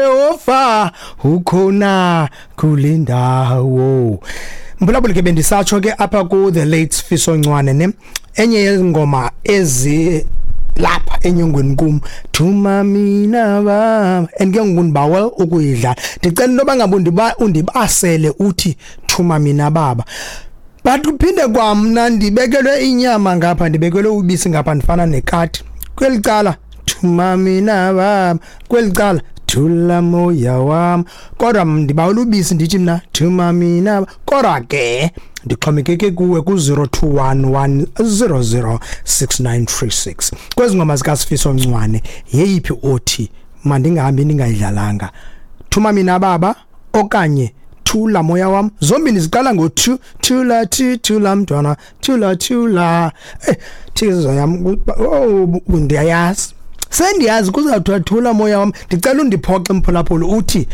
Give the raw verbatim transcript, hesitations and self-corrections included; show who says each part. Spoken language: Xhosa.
Speaker 1: Yehova ukhona kule ndawo. Mphulaphuli, ke bendisatsho ke apha ku the late Sifiso Ncwane ne enye yezingoma ezi lapha enyongweni kum, "Thuma Mina Baba", and ke ngoku ndibawela ukuyidlala. Ndicela into yoba ngabe undiba undibasele uthi "Thuma Mina Baba", but kuphinde kwamna ndibekelwe inyama ngapha, ndibekelwe ubisi ngapha, ndifana nekati. Kweli cala "Thuma Mina Baba", kweli cala "Thula Moya Wam", kodwa ndibawela ubisi, ndithi mna "Thuma Mina". Kodwa ke ndixhomekeke kuwe ku-zero two one one zero zero six nine three six. Kwezi ngoma zikaSifiso Ncwane, yeyiphi othi mandingahambi ndingayidlalanga? "Thuma Mina Baba" okanye "Thula Moya Wam"? Zombini ziqala ngo-two. Thula, thi, thula mntwana, thula, thula. Eh thizo yam, oh, ndiyayazi, sendiyazi kuzawuthiwa "Thula Moya Wam". Ndicela undiphoxe, mphulaphula, uthi